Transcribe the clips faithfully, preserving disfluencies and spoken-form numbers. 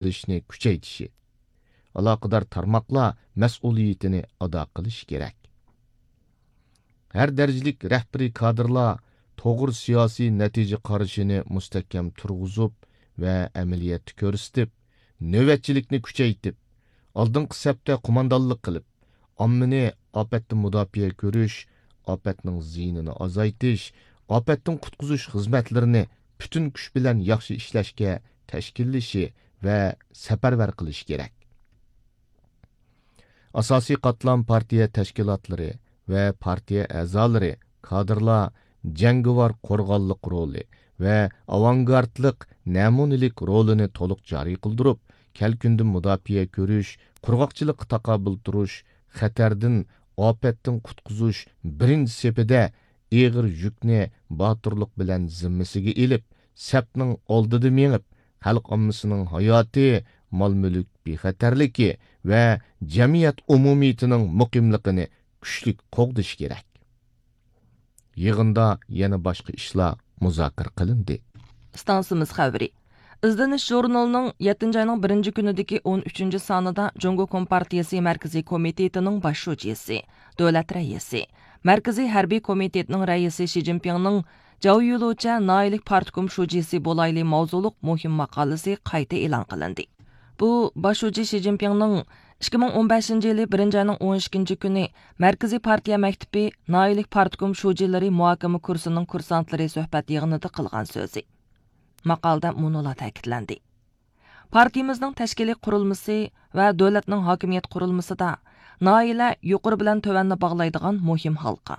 قىلىشنى كۈچەيتىشى، ئالاقىدار تارماقلار مەسئۇلىيىتىنى ئادا قىلىشى كېرەك. ھەر دەرىجىلىك رەھبىرىي كادىرلار توغرا سىياسىي نەتىجە قارىشىنى مۇستەھكەم تۇرغۇزۇپ ۋە ئەمەلىيەتتە كۆرسىتىپ، نۆۋەتچىلىكنى كۈچەيتىپ، ئالدىنقى سەپتە قوماندانلىق قىلىپ، ئاممىنى ئاپەتتىن مۇداپىئە كۆرۈش، ئاپەتنىڭ زىيىنىنى ئازايتىش، ئاپەتتىن قۇتقۇزۇش خىزمەتلىرىنى پۈتۈن كۈچ بىلەن ياخشى ئىشلەشكە تەشكىللىشى ۋە سەپەرۋەر قىلىشى كېرەك. ئاساسىي قاتلام پارتىيە تەشكىلاتلىرى ۋە پارتىيە ئەزالىرى، كادىرلار جەڭگىۋار قورغانلىق رولى ۋە ئاۋانگارتلىق نەمۇنىلىك رولىنى تولۇق جارى قىلدۇرۇپ، كەلكۈندىن مۇداپىئە كۆرۈش، قۇرغاقچىلىققا تاقابىل تۇرۇش، خەتەردىن، ئاپەتتىن قۇتقۇزۇش بىرىنچى سېپىدە ئېغىر يۈكنى باتۇرلۇق بىلەن زىممىسىگە ئېلىپ، سەپنىڭ ئالدىدا مېڭىپ، خەلق ئاممىسىنىڭ ھاياتى، مال-مۈلۈك بىخەتەرلىكى ۋە جەمئىيەت ئومۇمىيىتىنىڭ مۇقىملىقىنى كۈچلۈك قوغدىشى كېرەك. يىغىندا يەنە باشقا ئىشلار مۇزاكىرە قىلىندى. ئىستانسىمىز خەۋىرى. ئىزدىنىش ژۇرنىلىنىڭ يەتتىنچى ئاينىڭ بىرىنچى كۈنىدىكى ئون ئۈچىنچى سانىدا جۇڭگو كومپارتىيىسى مەركىزىي كومىتېتىنىڭ باش شۇجىسى، دۆلەت رەئىسى، مەركىزىي ھەربىي كومىتېتنىڭ رەئىسى شى جىنپىڭنىڭ جاۋ يۈلۇچە ناھىيىلىك پارتكوم شۇجىسى بولايلى ماۋزۇلۇق مۇھىم ماقالىسى قايتا ئېلان قىلىندى. بۇ باش شۇجى شى جىنپىڭنىڭ ئىككى مىڭ ئون بەشىنچى يىلى بىرىنچى ئاينىڭ ئون ئىككىنچى كۈنى مەركىزىي پارتىيە مەكتىپى ناھىيىلىك پارتكوم شۇجىلىرى مۇھاكىمە كۇرسىنىڭ كۇرسانتلىرى سۆھبەت يىغىنىدا قىلغان سۆزى. ماقالىدە مۇنۇلار تەكىتلەندى. پارتىيىمىزنىڭ تەشكىلىي قۇرۇلمىسى ۋە دۆلەتنىڭ ھاكىمىيەت قۇرۇلمىسىدا ناھىيەلەر يۇقىرى بىلەن تۆۋەننى باغلايدىغان مۇھىم ھالقا.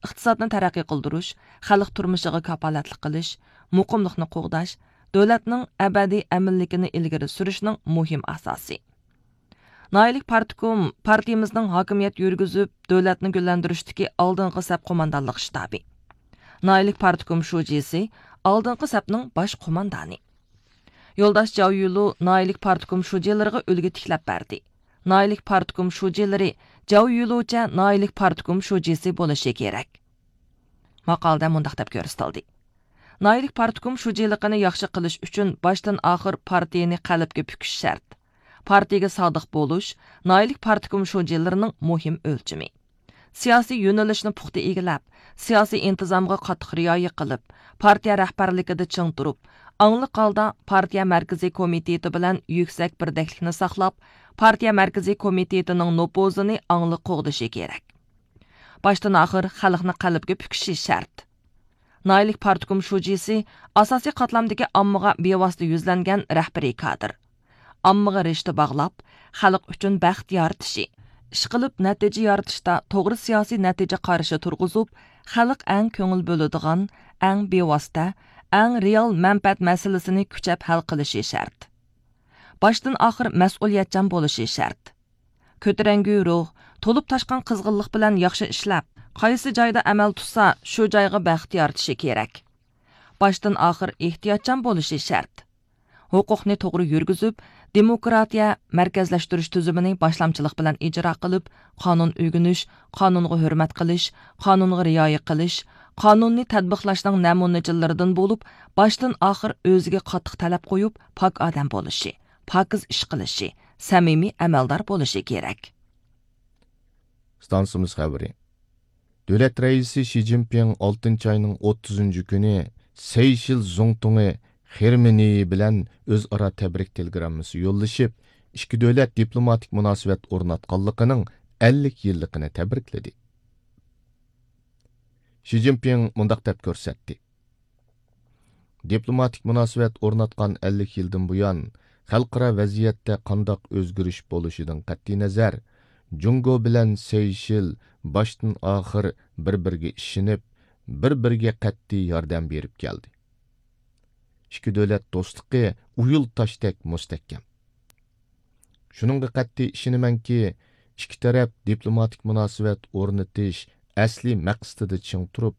ئىقتىسادنى تەرەققىي قىلدۇرۇش، خەلق تۇرمۇشىغا كاپالەتلىك قىلىش، مۇقىملىقنى قوغداش، دۆلەتنىڭ ئەبەدىي ئەمىنلىكىنى ئىلگىرى سۈرۈشنىڭ مۇھىم ئاساسى. ناھىيەلىك پارتكوم پارتىيىمىزنىڭ ھاكىمىيەت يۈرگۈزۈپ، دۆلەتنى گۈللەندۈرۈشتىكى ئالدىنقى سەپ قوماندانلىق شتابى. ناھىيەلىك پارتكوم شۇجىسى ئالدىنقى سەپنىڭ باش قوماندانى. يولداش جاۋ يۈلۇ ناھىيەلىك پارتكوم شۇجىلىرىغا ئۈلگە تىكلەپ بەردى. ناھىيەلىك پارتكوم شۇجىلىرى جاۋ يۈلۇچە ناھىيەلىك پارتكوم شۇجىسى بولۇشى كېرەك. ماقالىدە مۇنداق دەپ كۆرسىتىلدى. ناھىيەلىك پارتكوم شۇجىلىقىنى ياخشى قىلىش ئۈچۈن باشتىن ئاخىر پارتىيىنى قەلبكە پۈكۈش شەرت. پارتىيىگە سادىق بولۇش ناھىيەلىك پارتكوم شۇجىلىرىنىڭ مۇھىم ئۆلچىمى. سىياسىي يۆنىلىشنى پۇختا ئىگىلەپ، سىياسىي ئىنتىزامغا قاتتىق رىئايە قىلىپ، پارتىيە رەھبەرلىكىدە چىڭ تۇرۇپ، ئاڭلىق ھالدا پارتىيە مەركىزىي كومىتېتى بىلەن يۈكسەك بىردەكلىكنى ساقلاپ، پارتىيە مەركىزىي كومىتېتىنىڭ نوپۇزىنى ئاڭلىق قوغدىشى كېرەك. باشتىن ئاخىر خەلقنى قەلبكە پۈكۈشى شەرت. ناھىيەلىك پارتكوم شۇجىسى ئاساسىي قاتلامدىكى ئاممىغا بىۋاسىتە يۈزلەنگەن رەھبىرىي كادىر. ئاممىغا رىشتە باغلاپ، خەلق ئۈچۈن بەخت يارىتىشى، ئىشقىلىپ نەتىجە يارىتىشتا توغرا سىياسىي نەتىجە قارىشى تۇرغۇزۇپ، خەلق ئەڭ كۆڭۈل بۆلىدىغان، ئەڭ بىۋاسىتە، ئەڭ رېئال مەنپەئەت مەسىلىسىنى كۈچەپ ھەل قىلىشى شەرت. باشتىن ئاخىر مەسئۇلىيەتچان بولۇشى شەرت. كۆتۈرەڭگۈ روھ، تولۇپ تاشقان قىزغىنلىق بىلەن ياخشى ئىشلەپ، قايسى جايدا ئەمەل تۇتسا، شۇ جايغا بەخت يارىتىشى كېرەك. باشتىن ئاخىر ئېھتىياتچان بولۇشى شەرت. ھوقۇقنى توغرا يۈرگۈزۈپ، دېموكراتىيە، مەركەزلەشتۈرۈش تۈزۈمىنى باشلامچىلىق بىلەن ئىجرا قىلىپ، قانۇن ئۆگىنىش، قانۇنغا ھۆرمەت قىلىش، قانۇنغا رىئايە قىلىش، قانۇننى تەتبىقلاشنىڭ نەمۇنىچىلىرىدىن بولۇپ، باشتىن ئاخىر ئۆزىگە قاتتىق تەلەپ قويۇپ، پاك ئادەم بولۇشى، پاكىز ئىش قىلىشى، سەمىمىي ئەمەلدار بولۇشى كېرەك. ئىستانسىمىز خەۋىرى. دۆلەت رەئىسى شى جىنپىڭ ئالتىنچى ئاينىڭ ئوتتۇزىنچى كۈنى سەيشېل زۇڭتۇڭى خېرمېنىيى بىلەن ئۆزئارا تەبرىك تېلېگراممىسى يوللىشىپ، ئىككى دۆلەت دىپلوماتىك مۇناسىۋەت ئورناتقانلىقىنىڭ ئەللىك يىللىقىنى تەبرىكلىدى. شى جىنپىڭ مۇنداق دەپ كۆرسەتتى. دىپلوماتىك مۇناسىۋەت ئورناتقان ئەللىك يىلدىن بۇيان، خەلقئارا ۋەزىيەتتە قانداق ئۆزگىرىش بولۇشىدىن قەتئىينەزەر، جۇڭگو بىلەن سەيشېل باشتىن ئاخىر بىر-بىرىگە ئىشىنىپ، بىر-بىرىگە قەتئىي ياردەم بېرىپ كەلدى. ئىككى دۆلەت دوستلۇقى ئۇيۇل تاشتەك مۇستەھكەم. شۇنىڭغا قەتئىي ئىشىنىمەنكى، ئىككى تەرەپ دىپلوماتىك مۇناسىۋەت ئورنىتىش ئەسلىي مەقسىتىدە چىڭ تۇرۇپ،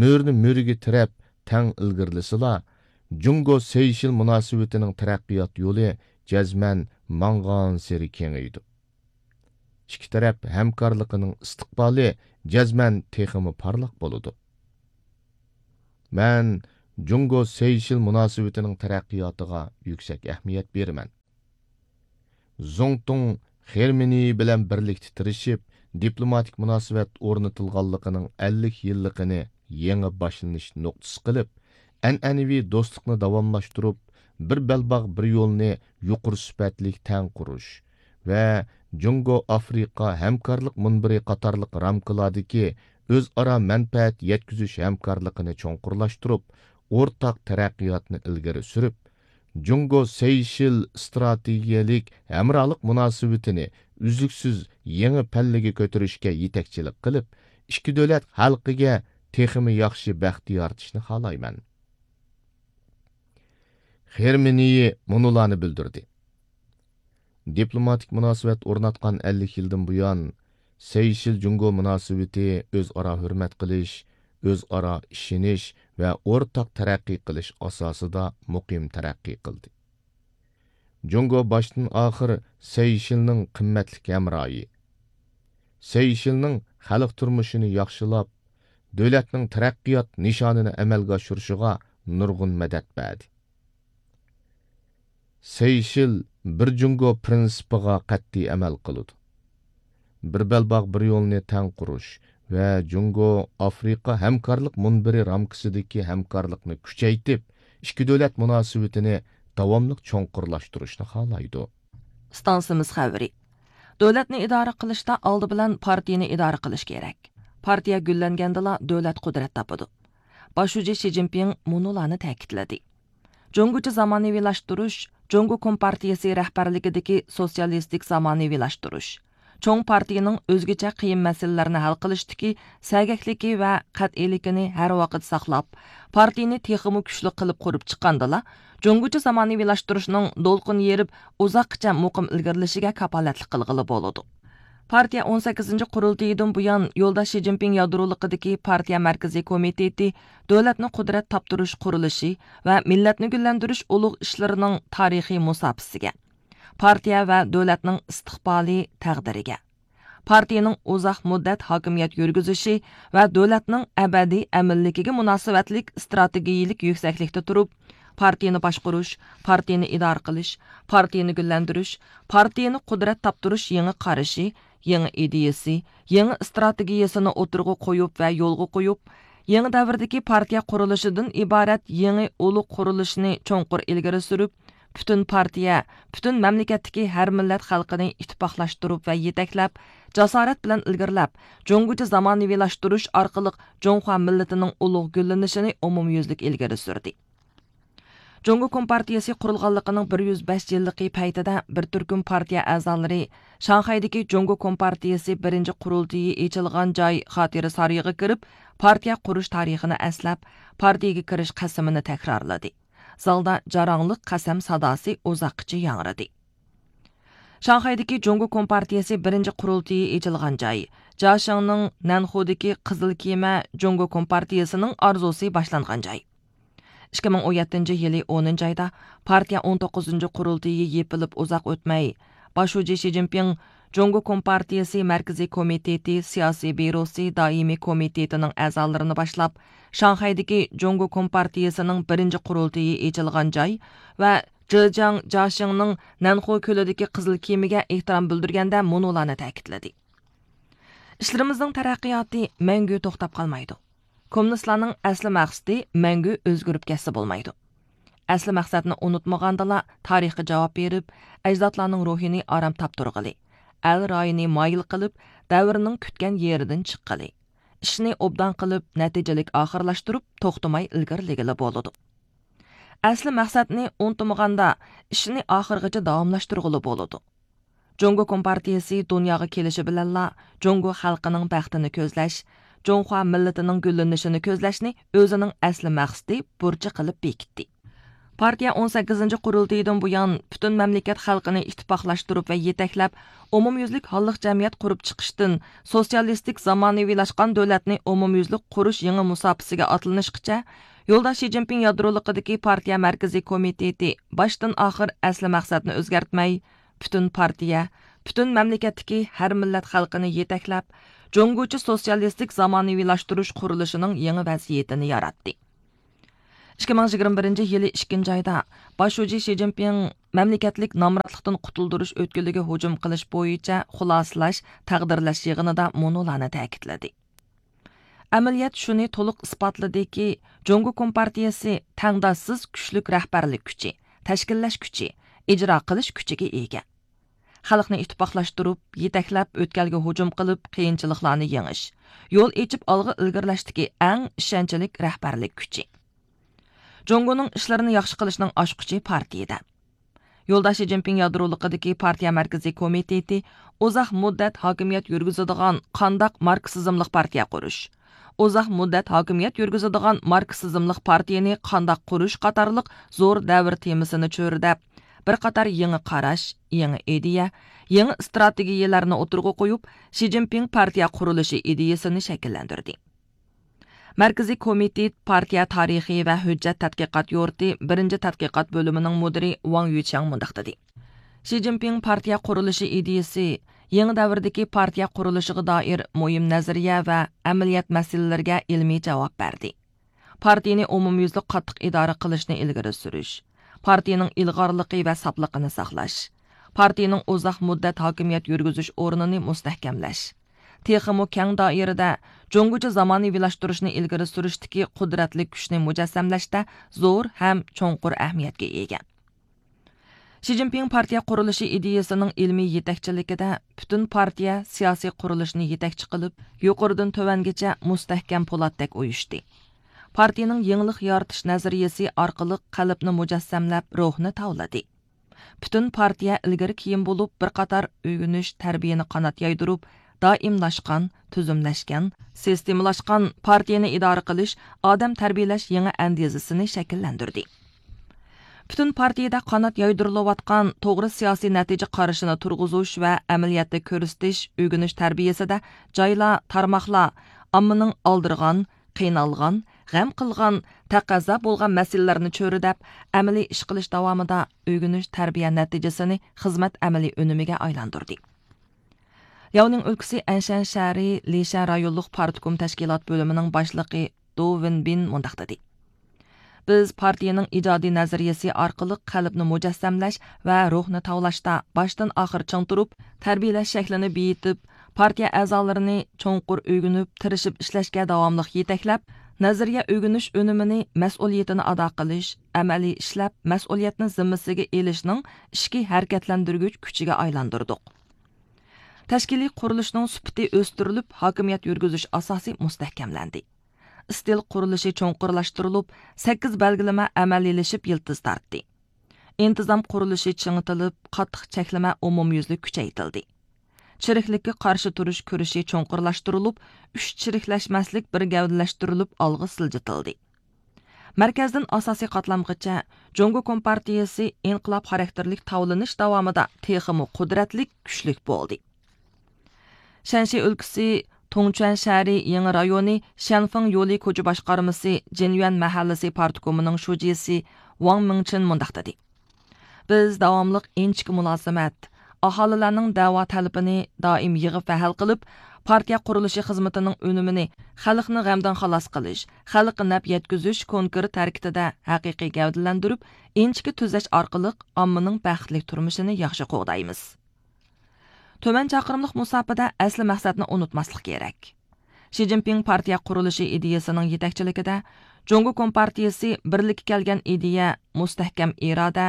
مۈرىنى مۈرىگە تىرەپ تەڭ ئىلگىرىلىسىلا، جۇڭگو سەيشېل مۇناسىۋىتىنىڭ تەرەققىيات يولى جەزمەن ماڭغانسېرى كېڭىيىدۇ. ئىككى تەرەپ ھەمكارلىقىنىڭ ئىستىقبالى جەزمەن تېخىمۇ پارلاق بولىدۇ. مەن جۇڭگو سېيشېل مۇناسىۋىتىنىڭ تەرەققىياتىغا يۈكسەك ئەھمىيەت بېرىمەن. زۇڭتۇڭ خېرمىنىي بىلەن بىرلىكتە تىرىشىپ، دىپلوماتىك مۇناسىۋەت ئورنىتىلغانلىقىنىڭ ئەللىك يىللىقىنى يېڭى باشلىنىش نۇقتىسى قىلىپ، ئەنئەنىۋى دوستلۇقنى داۋاملاشتۇرۇپ، بىر بەلباغ، بىر يولنى يۇقىرى سۈپەتلىك تەڭ قۇرۇش ۋە جۇڭگو ئافرىقا ھەمكارلىق مۇنبىرى قاتارلىق رامكىلاردىكى ئۆزئارا مەنپەئەت يەتكۈزۈش ھەمكارلىقىنى چوڭقۇرلاشتۇرۇپ، ئورتاق تەرەققىياتنى ئىلگىرى سۈرۈپ، جۇڭگو سېيشېل ئىستراتېگىيەلىك ھەمراھلىق مۇناسىۋىتىنى ئۈزلۈكسىز يېڭى پەللىگە كۆتۈرۈشكە يېتەكچىلىك قىلىپ، ئىككى دۆلەت خەلقىگە تېخىمۇ ياخشى بەخت يارىتىشنى خالايمەن. خېرمىنىيى مۇنۇلارنى بىلدۈردى. دىپلوماتىك مۇناسىۋەت ئورناتقان ئەللىك يىلدىن بۇيان، سېيشېل جۇڭگو مۇناسىۋىتى ئۆزئارا ھۆرمەت قىلىش، ئۆزئارا ئىشىنىش ۋە ئورتاق تەرەققىي قىلىش ئاساسىدا مۇقىم تەرەققىي قىلدى. جۇڭگو باشتىن ئاخىر سېيشېلنىڭ قىممەتلىك ھەمراھى، سېيشېلنىڭ خەلق تۇرمۇشىنى ياخشىلاپ، دۆلەتنىڭ تەرەققىيات نىشانىنى ئەمەلگە ئاشۇرۇشىغا نۇرغۇن مەدەت بەردى. سېيشېل بىر جۇڭگو پىرىنسىپىغا قەتئىي ئەمەل قىلىدۇ. بىر بەلباغ، بىر يولنى تەڭ قۇرۇش ۋە جۇڭگو ئافرىقا ھەمكارلىق مۇنبىرى رامكىسىدىكى ھەمكارلىقنى كۈچەيتىپ، ئىككى دۆلەت مۇناسىۋىتىنى داۋاملىق چوڭقۇرلاشتۇرۇشنى خالايدۇ. ئىستانسىمىز خەۋىرى. دۆلەتنى ئىدارە قىلىشتا ئالدى بىلەن پارتىيىنى ئىدارە قىلىش كېرەك. پارتىيە گۈللەنگەندىلا دۆلەت قۇدرەت تاپىدۇ. باش شۇجى شى جىنپىڭ مۇنۇلارنى تەكىتلىدى. جۇڭگوچە زامانىۋىلاشتۇرۇش، جۇڭگو كومپارتىيىسى رەھبەرلىكىدىكى سوتسىيالىستىك زامانىۋىلاشتۇرۇش، چوڭ پارتىيىنىڭ ئۆزگىچە قىيىن مەسىلىلەرنى ھەل قىلىشتىكى سەگەكلىكى ۋە قەتئىيلىكىنى ھەر ۋاقىت ساقلاپ، پارتىيىنى تېخىمۇ كۈچلۈك قىلىپ قۇرۇپ چىققاندىلا، جۇڭگوچە زامانىۋىلاشتۇرۇشنىڭ دولقۇن يېرىپ، ئۇزاققىچە مۇقىم ئىلگىرىلىشىگە كاپالەتلىك قىلغىلى بولىدۇ. پارتىيە ئون سەككىزىنچى قۇرۇلتىيىدىن بۇيان، يولداش شى جىنپىڭ يادرولۇقىدىكى پارتىيە مەركىزىي كومىتېتى دۆلەتنى قۇدرەت تاپتۇرۇش قۇرۇلۇشى ۋە مىللەتنى گۈللەندۈرۈش ئۇلۇغ ئىشلىرىنىڭ تارىخىي مۇساپىسىگە، پارتىيە ۋە دۆلەتنىڭ ئىستىقبالىي تەقدىرىگە، پارتىيىنىڭ ئۇزاق مۇددەت ھاكىمىيەت يۈرگۈزۈشى ۋە دۆلەتنىڭ ئەبەدىي ئەمىنلىكىگە مۇناسىۋەتلىك ئىستراتېگىيىلىك يۈكسەكلىكتە تۇرۇپ، پارتىيىنى باشقۇرۇش، پارتىيىنى ئىدارە قىلىش، پارتىيىنى گۈللەندۈرۈش، پارتىيىنى قۇدرەت تاپتۇرۇش يېڭى قارىشى، يېڭى ئىدىيىسى، يېڭى ئىستراتېگىيىسىنى ئوتتۇرىغا قويۇپ ۋە يولغا قويۇپ، يېڭى دەۋردىكى پارتىيە قۇرۇلۇشىدىن ئىبارەت يېڭى ئۇلۇغ قۇرۇلۇشنى چوڭقۇر ئىلگىرى سۈرۈپ، پۈتۈن پارتىيە، پۈتۈن مەملىكەتتىكى ھەر مىللەت خەلقىنى ئىتتىپاقلاشتۇرۇپ ۋە يېتەكلەپ، جاسارەت بىلەن ئىلگىرىلەپ، جۇڭگوچە زامانىۋىلاشتۇرۇش ئارقىلىق جۇڭخۇا مىللىتىنىڭ ئۇلۇغ گۈللىنىشىنى ئومۇميۈزلۈك ئىلگىرى سۈردى. جۇڭگو كومپارتىيىسى قۇرۇلغانلىقىنىڭ بىر يۈز بەش يىللىقى پەيتىدە بىر تۈركۈم پارتىيە ئەزالىرى شاڭخەيدىكى جۇڭگو كومپارتىيىسى بىرىنچى قۇرۇلتىيى ئېچىلغان جاي خاتىرە سارىيىغا كىرىپ، پارتىيە قۇرۇش تارىخىنى ئەسلەپ، پارتىيىگە كىرىش قەسىمىنى تەكرارلىدى. زالدا جاراڭلىق قەسەم ساداسى ئۇزاققىچە ياڭرىدى. شاڭخەيدىكى جۇڭگو كومپارتىيىسى بىرىنچى قۇرۇلتىيى ئېچىلغان جاي، جياشىڭنىڭ نەنخۇدىكى قىزىل كېمە جۇڭگو كومپارتىيىسىنىڭ ئارزۇسى باشلانغان جاي. ئىككى مىڭ ئون يەتتىنچى يىلى ئونىنچى ئايدا پارتىيە ئون توققۇزىنچى قۇرۇلتىيى يېپىلىپ ئۇزاق ئۆتمەي، باش شۇجى شى جىنپىڭ جۇڭگو كومپارتىيىسى مەركىزىي كومىتېتى سىياسىي بيۇروسى دائىمىي كومىتېتىنىڭ ئەزالىرىنى باشلاپ، شاڭخەيدىكى جۇڭگو كومپارتىيىسىنىڭ بىرىنچى قۇرۇلتىيى ئېچىلغان جاي ۋە جېجياڭ جياشىڭنىڭ نەنخۇ كۆلىدىكى قىزىل كېمىگە ئېھتىرام بىلدۈرگەندە مۇنۇلارنى تەكىتلىدى. ئىشلىرىمىزنىڭ تەرەققىياتى مەڭگۈ توختاپ قالمايدۇ. كوممۇنىستلارنىڭ ئەسلى مەقسىتى مەڭگۈ ئۆزگىرىپ كەتسە بولمايدۇ. ئەسلى مەقسەتنى ئۇنتۇمىغاندىلا، تارىخقا جاۋاب بېرىپ، ئەجدادلارنىڭ روھىنى ئارام تاپتۇرغىلى، ئەل رايىنى مايىل قىلىپ، دەۋرنىڭ كۈتكەن يېرىدىن چىققىلى، ئىشنى ئوبدان قىلىپ، نەتىجىلىك ئاخىرلاشتۇرۇپ، توختىماي ئىلگىرىلىگىلى بولىدۇ. ئەسلى مەقسەتنى ئۇنتۇمىغاندا، ئىشنى ئاخىرغىچە داۋاملاشتۇرغىلى بولىدۇ. جۇڭگو كومپارتىيىسى دۇنياغا كېلىشى بىلەنلا، جۇڭگو خەلقىنىڭ بەختىنى كۆزلەش، جۇڭخۇا مىللىتىنىڭ گۈللىنىشىنى كۆزلەشنى ئۆزىنىڭ ئەسلى مەقسىتى، بۇرچى قىلىپ بېكىتتى. پارتىيە ئون سەككىزىنچى قۇرۇلتىيىدىن بۇيان، پۈتۈن مەملىكەت خەلقىنى ئىتتىپاقلاشتۇرۇپ ۋە يېتەكلەپ، ئومۇميۈزلۈك ھاللىق جەمئىيەت قۇرۇپ چىقىشتىن، سوتسىيالىستىك زامانىۋىلاشقان دۆلەتنى ئومۇميۈزلۈك قۇرۇش يېڭى مۇساپىسىگە ئاتلىنىشقىچە، يولداش شى جىنپىڭ يادرولۇقىدىكى پارتىيە مەركىزىي كومىتېتى باشتىن ئاخىر ئەسلى مەقسەتنى ئۆزگەرتمەي، پۈتۈن پارتىيە، پۈتۈن مەملىكەتتىكى ھەر مىللەت خەلقىنى يېتەكلەپ، جۇڭگوچە سوتسىيالىستىك زامانىۋىلاشتۇرۇش قۇرۇلۇشىنىڭ يېڭى ۋەزىيىتىنى ياراتتى. ئىككى مىڭ يىگىرمە بىرىنچى يىلى ئىككىنچى ئايدا باش شۇجى شى جىنپىڭ مەملىكەتلىك نامراتلىقتىن قۇتۇلدۇرۇش ئۆتكىلىگە ھۇجۇم قىلىش بويىچە خۇلاسىلەش، تەقدىرلەش يىغىنىدا مۇنۇلارنى تەكىتلىدى. ئەمەلىيەت شۇنى تولۇق ئىسپاتلىدىكى، جۇڭگو كومپارتىيىسى تەڭداشسىز كۈچلۈك رەھبەرلىك كۈچى، تەشكىللەش كۈچى، ئىجرا قىلىش كۈچىگە ئىگە. خەلقنى ئىتتىپاقلاشتۇرۇپ، يېتەكلەپ، ئۆتكەلگە ھۇجۇم قىلىپ، قىيىنچىلىقلارنى يېڭىش، يول ئېچىپ ئالغا ئىلگىرىلەشتىكى ئەڭ ئىشەنچلىك رەھبەرلىك كۈچى. جۇڭگونىڭ ئىشلىرىنى ياخشى قىلىشنىڭ ئاچقۇچى پارتىيىدە. يولداش شى جىنپىڭ يادرولۇقىدىكى پارتىيە مەركىزىي كومىتېتى ئۇزاق مۇددەت ھاكىمىيەت يۈرگۈزىدىغان قانداق ماركسىزملىق پارتىيە قۇرۇش، ئۇزاق مۇددەت ھاكىمىيەت يۈرگۈزىدىغان ماركسىزملىق پارتىيىنى قانداق قۇرۇش قاتارلىق زور دەۋر تېمىسىنى چۆرىدەپ، بىر قاتار يېڭى قاراش، يېڭى ئىدىيە، يېڭى ئىستراتېگىيەلەرنى ئوتتۇرىغا قويۇپ، شى جىنپىڭ پارتىيە قۇرۇلۇشى ئىدىيىسىنى شەكىللەندۈردى. مەركىزىي كومىتېت پارتىيە تارىخى ۋە ھۆججەت تەتقىقات يۇرتى بىرىنچى تەتقىقات بۆلۈمىنىڭ مۇدىرى ۋاڭ يۈچياڭ مۇنداق دېدى: شى جىنپىڭ پارتىيە قۇرۇلۇشى ئىدىيىسى يېڭى دەۋردىكى پارتىيە قۇرۇلۇشىغا دائىر مۇھىم نەزەرىيە ۋە ئەمەلىيەت مەسىلىلىرىگە ئىلمىي جاۋاب بەردى. پارتىيىنى ئومۇميۈزلۈك قاتتىق ئىدارە قىلىشنى ئىلگىرى سۈرۈش، پارتىيىنىڭ ئىلغارلىقى ۋە ساپلىقىنى ساقلاش، پارتىيىنىڭ ئۇزاق مۇددەت ھاكىمىيەت يۈرگۈزۈش ئورنىنى مۇستەھكەملەش، تېخىمۇ كەڭ دائىرىدە جۇڭگوچە زامانىۋىلاشتۇرۇشنى ئىلگىرى سۈرۈشتىكى قۇدرەتلىك كۈچنى مۇجەسسەملەشتە زور ھەم چوڭقۇر ئەھمىيەتكە ئىگە. شى جىنپىڭ پارتىيە قۇرۇلۇشى ئىدىيىسىنىڭ ئىلمىي يېتەكچىلىكىدە پۈتۈن پارتىيە سىياسىي قۇرۇلۇشىنى يېتەكچى قىلىپ، يۇقىرىدىن تۆۋەنگىچە مۇستەھكەم پولاتتەك ئۇيۇشتى. پارتىيىنىڭ يېڭىلىق يارىتىش نەزەرىيىسى ئارقىلىق قەلبنى مۇجەسسەملەپ، روھنى تاۋلىدى. پۈتۈن پارتىيە ئىلگىرى كېيىن بولۇپ، بىر قاتار ئۆگىنىش، تەربىيەنى قانات يايدۇرۇپ، دائىملاشقان، تۈزۈملەشكەن، سىستېمىلاشقان پارتىيەنى ئىدارە قىلىش، ئادەم تەربىيەلەش يېڭى ئەندىزىسىنى شەكىللەندۈردى. پۈتۈن پارتىيىدە قانات يايدۇرۇلۇۋاتقان توغرا سىياسىي نەتىجە قارىشىنى تۇرغۇزۇش ۋە ئەمەلىيەتتە كۆرسىتىش، ئۆگىنىش تەربىيەسىدە جايلار، تارماقلار ئاممىنىڭ ئالدىرىغان، قىينالغان، غەم قىلغان، تەقەززا بولغان مەسىلىلەرنى چۆرىدەپ، ئەمەلىي ئىش قىلىش داۋامىدا ئۆگىنىش تەربىيە نەتىجىسىنى خىزمەت ئەمەلىي ئۈنۈمىگە ئايلاندۇردى. لياۋنىڭ ئۆلكىسى ئەنشەن شەھىرى لىشەن رايونلۇق پارتكوم تەشكىلات بۆلۈمىنىڭ باشلىقى دو ۋېنبىن مۇنداق دېدى: بىز پارتىيىنىڭ ئىجادىي نەزەرىيەسى ئارقىلىق قەلبنى مۇجەسسەملەش ۋە روھنى تاۋلاشتا باشتىن ئاخىر چىڭ تۇرۇپ، تەربىيەلەش شەكلىنى بېيىتىپ، پارتىيە ئەزالىرىنى چوڭقۇر ئۆگىنىپ، تىرىشىپ ئىشلەشكە داۋاملىق يېتەكلەپ، نەزەرىيە ئۆگىنىش ئۈنۈمىنى مەسئۇلىيىتىنى ئادا قىلىش، ئەمەلىي ئىشلەپ، مەسئۇلىيەتنى زىممىسىگە ئېلىشنىڭ ئىچكى ھەرىكەتلەندۈرگۈچ كۈچىگە ئايلاندۇردۇق. تەشكىلىي قۇرۇلۇشنىڭ سۈپىتى ئۆستۈرۈلۈپ، ھاكىمىيەت يۈرگۈزۈش ئاساسى مۇستەھكەملەندى. ئىستىل قۇرۇلۇشى چوڭقۇرلاشتۇرۇلۇپ، سەككىز بەلگىلىمە ئەمەلىيلىشىپ يىلتىز تارتتى. ئىنتىزام قۇرۇلۇشى چىڭىتىلىپ، قاتتىق چەكلىمە ئومۇميۈزلۈك كۈچەيتىلدى. چىرىكلىككە قارشى تۇرۇش كۈرىشى چوڭقۇرلاشتۇرۇلۇپ، ئۈچ چىرىكلەشمەسلىك بىر گەۋدىلەشتۈرۈلۈپ ئالغا سىلجىتىلدى. مەركەزدىن ئاساسىي قاتلامغىچە جۇڭگو كومپارتىيىسى ئىنقىلاب خاراكتېرلىك تاۋلىنىش داۋامىدا تېخىمۇ قۇدرەتلىك، كۈچلۈك بولدى. شەنشى ئۆلكىسى تۇڭچۈەن شەھىرى يېڭى رايونى شەنفېڭ يولى كوچا باشقارمىسى جىنيۈەن مەھەللىسى پارتكومىنىڭ شۇجىسى ۋاڭ مىڭچىن مۇنداق دېدى: بىز داۋاملىق ئىنچىكە مۇلازىمەت، ئاھالىلەرنىڭ دەۋا تەلىپىنى دائىم يىغىپ ۋە ھەل قىلىپ، پارتىيە قۇرۇلۇشى خىزمىتىنىڭ ئۈنۈمىنى خەلقنى غەمدىن خالاس قىلىش، خەلققە نەپ يەتكۈزۈش كونكرېت ھەرىكىتىدە ھەقىقىي گەۋدىلەندۈرۈپ، ئىنچىكە تۈزەش ئارقىلىق ئاممىنىڭ بەختلىك تۇرمۇشىنى ياخشى قوغدايمىز. تۆۋەن چاقىرىملىق مۇساپىدە ئەسلى مەقسەتنى ئۇنتۇماسلىق كېرەك. شى جىنپىڭ پارتىيە قۇرۇلۇشى ئىدىيىسىنىڭ يېتەكچىلىكىدە جۇڭگو كومپارتىيىسى بىرلىككە كەلگەن ئىدىيە، مۇستەھكەم ئىرادە،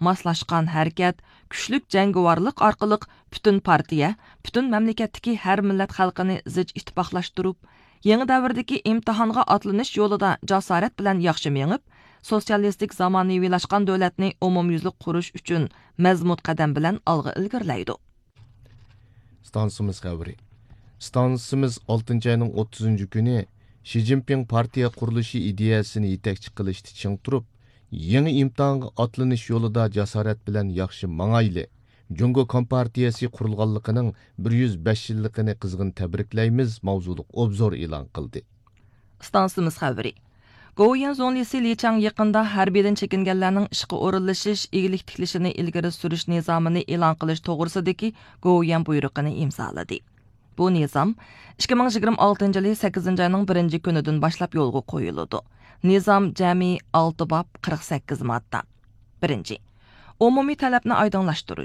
ماسلاشقان ھەرىكەت، كۈچلۈك جەڭگىۋارلىق ئارقىلىق پۈتۈن پارتىيە، پۈتۈن مەملىكەتتىكى ھەر مىللەت خەلقىنى زىچ ئىتتىپاقلاشتۇرۇپ، يېڭى دەۋردىكى ئىمتىھانغا ئاتلىنىش يولىدا جاسارەت بىلەن ياخشى مېڭىپ، سوتسىيالىستىك زامانىۋىلاشقان دۆلەتنى ئومۇميۈزلۈك قۇرۇش ئۈچۈن مەزمۇت قەدەم بىلەن ئالغا ئىلگىرىلەيدۇ. ئىستانسىمىز خەۋىرى. ئىستانسىمىز ئالتىنچى ئاينىڭ ئوتتۇزىنچى كۈنى شى جىنپىڭ پارتىيە قۇرۇلۇشى ئىدىيەسىنى يېتەكچى قىلىشتا چىڭ تۇرۇپ، يېڭى ئىمتىھانغا ئاتلىنىش يولىدا جاسارەت بىلەن ياخشى ماڭايلى، جۇڭگو كومپارتىيەسى قۇرۇلغانلىقىنىڭ بىر يۈز بەش يىللىقىنى قىزغىن تەبرىكلەيمىز ماۋزۇلۇق ئوبزور ئېلان قىلدى. ئىستانسىمىز خەۋىرى. گوۋۇيۈەن زۇڭلىسى لى چاڭ يېقىندا ھەربىيدىن چېكىنگەنلەرنىڭ ئىشقا ئورۇنلىشىش، ئىگىلىك تىكلىشىنى ئىلگىرى سۈرۈش نىزامىنى ئېلان قىلىش توغرىسىدىكى گوۋۇيۈەن بۇيرۇقىنى ئىمزالىدى. بۇ نىزام ئىككى مىڭ يىگىرمە ئالتىنچى يىلى سەككىزىنچى ئاينىڭ بىرىنچى كۈنىدىن باشلاپ يولغا قويۇلىدۇ. نىزام جەمئىي ئالتە باب، قىرىق سەككىز ماددا. بىرىنچى، ئومۇمىي تەلەپنى ئايدىڭلاشتۇرۇش.